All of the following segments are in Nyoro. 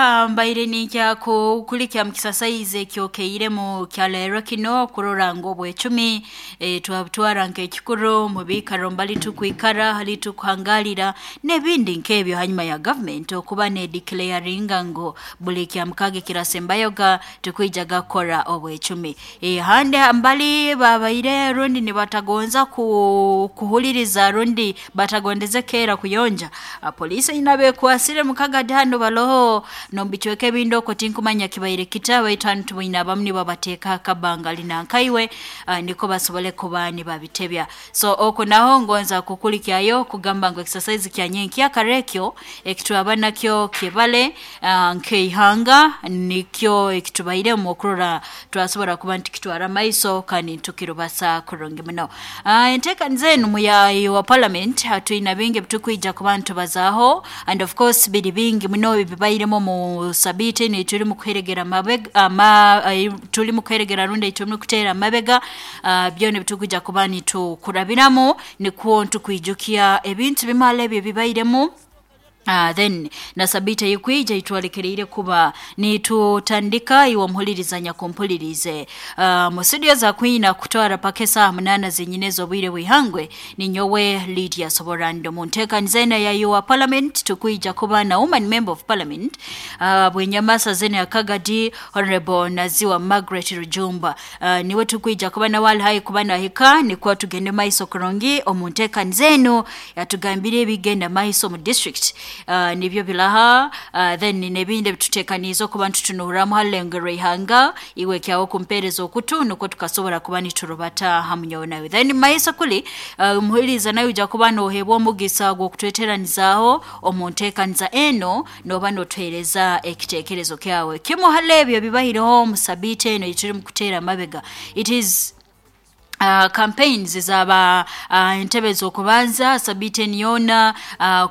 Mbaire ninkyakukulikya mukisasaizi ekyokeiremu kyaleero kino kurora ngu obwecumi twabutwara nk'ekikuru mu biikaro mbali tukwikara hali tukuhangalira n'ebindi nk'ebyo hanyuma ya government okuba nedeclaringa ngu buli kyamukaaga ekirasembayoga tukwijaga kukora obwecumi. Handi mbali babaire rundi nibatagonza kuhuliriza rundi batagondeze keera kuyonja, poliisi nyina bekwasire mukagadi hanu baloho n'omubicweka ebindi oko tinkumanya kibaire kita, baitu hanu tuboine abamu nibabateeka akabangali nankaiwe, nikwo basobole kuba nibabitebya. So oku naho ngonza kukulikyayo kugamba ngu exercise kya nyenkya kara ekyo ekitwaba nakyo kibale, nk'eihanga nikyo ekitubairemu okurora twasobora kuba nitukitwara maiso kandi nitukirubasa kurungi muno. Enteekaniza enu muyayi wa parliament twina bingi ebitukwija kuba nitubazaaho, and of course biri bingi muno ebibairemu mu sabiiti enu turimu kuheregera mabega ama, turimu kuheregera rundi turimu kuteera amabega, byona ebitukwija kuba nitukurabiramu nikwo ntukwijukya ebintu bimala ebi ebibairemu. Then na sabiiti eyikwija itwalekereire kuba nitutandika iwe omuhuliriza nyakumpulirize mu studio za kwina kutwara paka esaaha 8 zenyine ez'obwire bw'ihangwe. Ninyowe Lydia Soborando mu nteekaniza eno ya your parliament tukwija kuba na woman member of parliament, Bwenyamasa zene ya Kagadi, Honorable Naziwa Margaret Rujumba, niwe tukwija kuba nawe ali haihi kuba nahika nikwo tugende maiso kurungi omu nteekaniza eno yatugambire ebigenda maiso mu district, nibyo bilaha, then n'ebindi ebituteekaniize okuba nitutunuuramu ha rulengo rw'ihanga. Iwe kyawe kumpeereza okutu nukwo tukasobora kuba niturubata hamu nyowe nawe. Then maiso kuli, omuhuliriza nawe ojja kuba nooheebwa omugisa gw'okutweteranizaaho omu nteekaniza eno nooba nootuheereza ekiteekerezo kyawe. Kimu hali ebyo ebibaireho omu sabiiti eno ei turimu kuteera amabega, it is campaigns zaba entebe z'okubanza sabiiti enu yoona,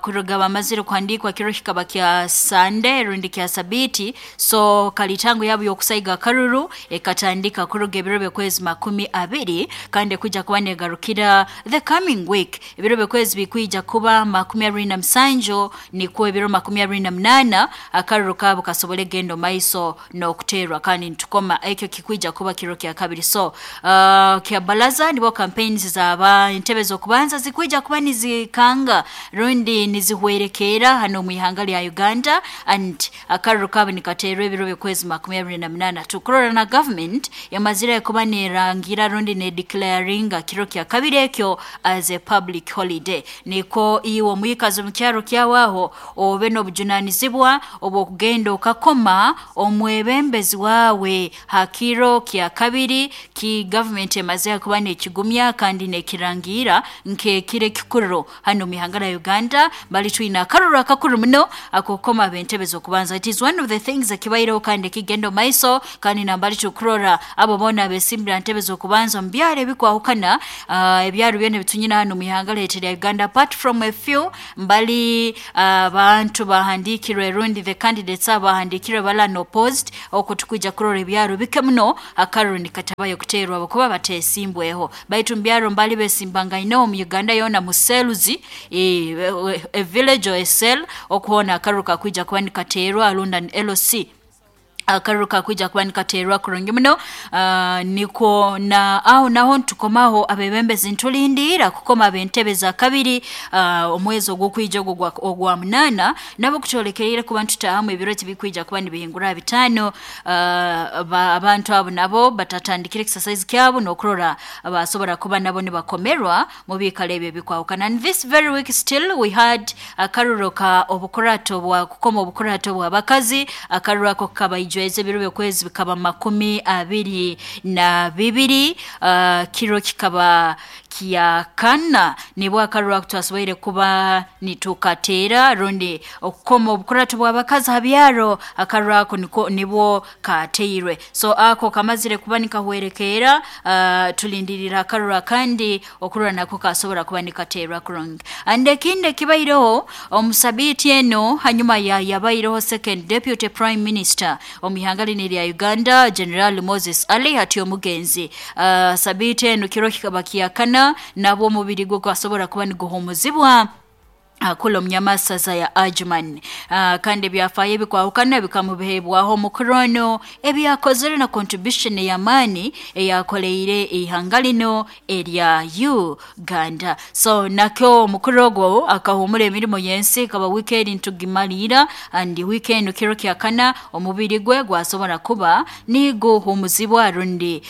kuruga bamazire kuhandiikwa kiro kikaba kya Sunday rundi kya sabiiti, so kalitango yabo y'okusaiga akaruru ekatandika kuruga ebiro by'okwezi 20 kandi ekwija kuba negarukira the coming week, ebiro by'okwezi bikwija kuba 27 nikwo ebiro 28 akaruru kaabo kasobole kugenda maiso n'okuteerwa kandi nitukoma ekyo kikwija kuba kiro kya kabiri. So kya balaza nibo campaigns zaba entebe z'okubanza zikwija kuba nizikanga rundi nizihwerekeera hano omu ihanga lya Uganda, and akaruru kaabo nikateerwa ebiro by'okwezi 28. Tukurora na government yamazire kuba nerangira rundi nedeclaringa kiro kya kabiri ekyo as a public holiday, nikwo iwe omwikazi omu kyaro kyawe aho obe n'obujunanizibwa obw'okugenda okakoma omwebembezi waawe ha kiro kya kabiri ki government emaze kuba nekigumya kandi nekirangira nk'ekiro ekikuru hano mu ihanga lya Uganda. Bali twina akaruru akakuru muno ak'okukoma ab'entebe z'okubanza. It is one of the things ekibaireho kandi ekigenda maiso, kandi nambali tukurora abo boona abesimbira ntebe z'okubanza mu byaro ebikwahukana, ebyaro byona ebitunyina hano mu ihanga lyaitu lya Uganda, apart from a few mbali abantu bahandikirwe rundi the candidates abo bahandikirwe bala opposed, okwo tukwija kurora ebyaro bike muno akaruru nikatabayo kuteerwa abakuba batesimbweho, baitu mu byaro mbali besimbangaineho mu Uganda yoona mu cells, a village or a cell, okuhoona akaruru kakwija kuba nikateerwa alunda LC akaruru kakwija kuba nikateerwa kurungi muno, nikwo na aho naho nitukomaho abebembezi nitulindiira kukoma ab'entebe za kabiri, omwezi ogw'okwija ogwo ogwa 8 nabo kutwolekereire kuba nitutaahamu ebiro tibikwija kuba nibihingura 5, abantu abo nabo batatandikire exercise kyabo n'okurora basobora kuba nabo nibakomerwa mu biikaro ebyo ebikwahukana. And this very week still we had akaruru ka obukurato bwa kukoma obukurato bw'abakazi, akaruru ako kabaijweza ebiro by'okwezi bikaba 22, kiro kikaba kya kana nibwo akaruru ako twasoboire kuba nitukateera rundi okukoma obukurato bw'abakazi ha byaro, akaruru ako niko nibwo kateirwe. So ako kamazire kuba nikahwerekeera, tulindirira akaruru akandi okurora nako kasobora kuba nikateerwa kurungi. And ekindi ekibaireho omu sabiiti eno hanyuma ya yabaireho second deputy prime minister omu ihanga lino erya Uganda, General Moses Ali hati omugenzi, sabiiti eno kiro kikaba kyakana nabwo omubiri gwe gwasobora kuba niguhumuzibwa. Kula omunyamasaza ya Ajman. Kandi ebyafaayo ebikwahukana bikamubihebwaho omukuru ono ebyakozere na contribution ey'amaani eyakoleire ihanga lino erya Uganda. So nakyo omukuru ogwo akahumura emirimo y'ensi, kaba weekend ntugimaliira and weekend kiro kyakana omubiri gwe gwasobora kuba niguhumuzibwa rundi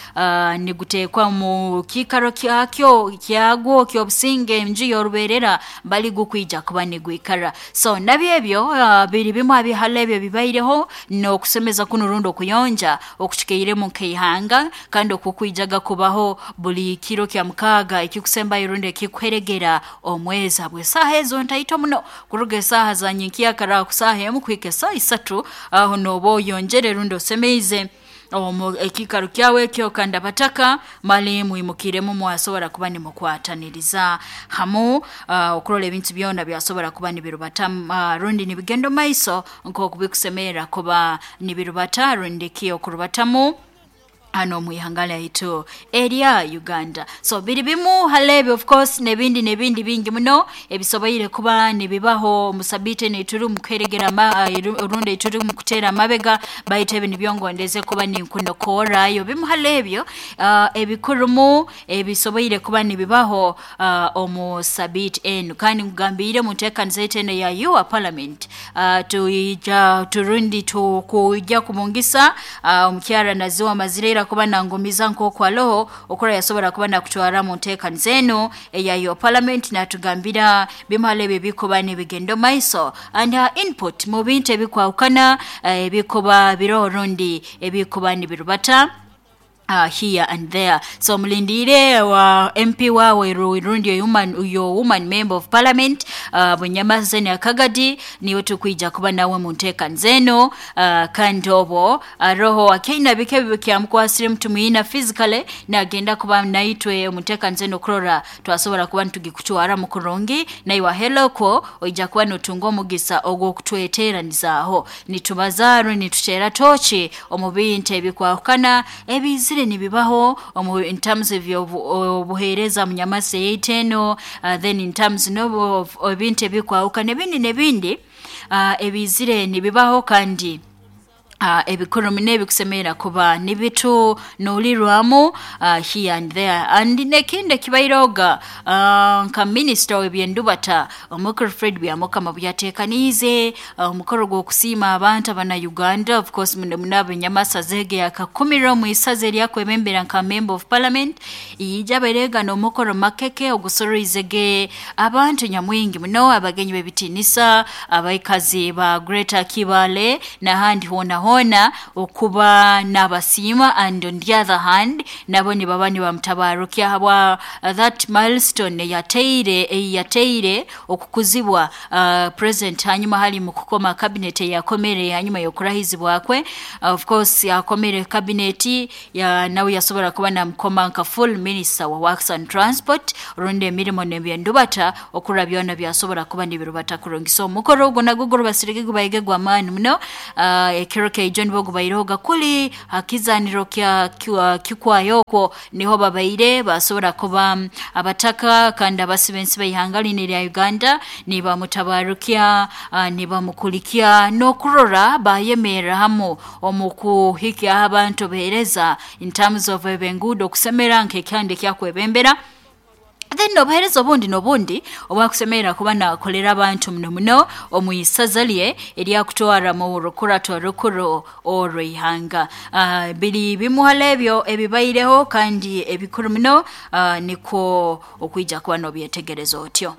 niguteekwa mu kiikaro kyakyo kyagwo ky'obusinge enju y'orubeerera bali gukwija kuba nigwikara. So nabyo ebyo biri bimu abihala ebyo bibaireho n'okusemeza kuno rundi okuyonja okucikeiremu nk'ihanga, kandi okukwijaga kubaho buli kiro kya mukaaga ekikusembayo rundi ekikuheregera omwezi habw'esaaha ezo ntaito muno, kuruga esaaha za nyenkyakara ku saaha 1 kuhika esaaha 3, aho nooba oyonjere rundi osemeize omu ekiikaro kyawe ekyo, kandi abataka mali mwimukiremu mwasobora kuba nimukwataniriza hamu okurora ebintu byona byasobora kuba nibirubata rundi nibigenda omu maiso nk'oku bikusemerra kuba nibirubata rundi ki okurubatamu hano omu ihanga lyaitu erya Uganda. So biri bimu hali ebyo, of course n'ebindi n'ebindi bingi muno ebisoboire kuba nibibaho omu sabiiti enu eturi omu kuheregera rundi eturi omu kuteera amabega, baitu ebi nibyo ngondeze kuba ninkunokorrayo bimu hali ebyo ebikurumu ebisoboire kuba nibibaho omu sabiiti enu. Kandi nkugambiire mu nteekaniza yaitu enu eya Your Parliament, tuija turundi tukujja kubungisa omukyara Naziwa Mazireira kuba nangumiza nk'oku aloho okura yasobora kuba nakutwara mu nteekaniza enu eya Your Parliament, natugambira bimu hali ebyo ebikuba nibigenda omu maiso and her input mu bintu ebikwahukana ebikuba biroho rundi ebikuba nibirubata here and there. So mulindiire wa MP wawe rundi your woman member of parliament Bunyamazeni Akagadi, niwe tukwija kuba nawe mu nteekaniza eno. Kandi obwo aroho akaina bike bikyamukwasire mutumwina physically nagenda kuba naitwe omu nteekaniza eno kurora twasobora kuba nitugikutwara mu kurungi, naiwe ahelokwo oija kuba notunga omugisa ogw'okutweteeranizaaho nitubaza rundi nituteera tooki omu bintu ebikwahukana ebizire nibibaho omu in terms of obuheereza munyamasi yaitu eno, then in terms n'obu ebintu ebikwahukana ebindi n'ebindi ebizire nibibaho kandi ebikuru muno ebikusemerra kuba nibitunuulirwamu here and there. And n'ekindi ekibairoga nka minisita w'ebyendubata omukuru Fred Byamukama byateekaniize omukoro gw'okusiima abantu abana Uganda, of course muno muno ab'enyamasaza ege yakakumirwa omu isaza eryakwebembera nka member of parliament, ija abairega n'omukoro makeke ogusoroizege abantu nyamwingi muno, abagenyi b'ebitiinisa, abaikazi ba Greater Kibaale n'ahandi hoona hoona okuba n'abasiima, and on the other hand nabo nibaba nibamutabarukya habwa that milestone eyateire okukuzibwa president hanyuma hali mu kukoma cabinet eyakomere hanyuma y'okurahizibwa kwe. Of course akomere cabinet ya nawe yasobora kuba namukoma nka full minister wa works and transport rundi emirimo n'ebyendubata okura byona byasobora kuba nibirubata kurungi. So omukoro ogwo nagwo gurubasirige gubaige gw'amaani muno. Ekiro keijo nibwo gubaireho gakuli hakizaniro kya kikwayo okwo niho babaire basobora kuba abataka kandi abasibensi b'ihanga lino erya Uganda nibamutabarukya, nibamukulikya n'okurora bayemerra hamu omu kuhikya abantu beereza in terms of eb'enguudo okusemera nk'ekyanda ekyakwebembera. Then obuheereza obundi n'obundi obwakusemerra kuba nakolera abantu muno muno omu isaza lye eryakutwara mu rukurato rukuru orw'ihanga. Biri bimu hali ebyo ebibaireho kandi ebikuru muno, nikwo okwija kuba n'obyetegereza otyo.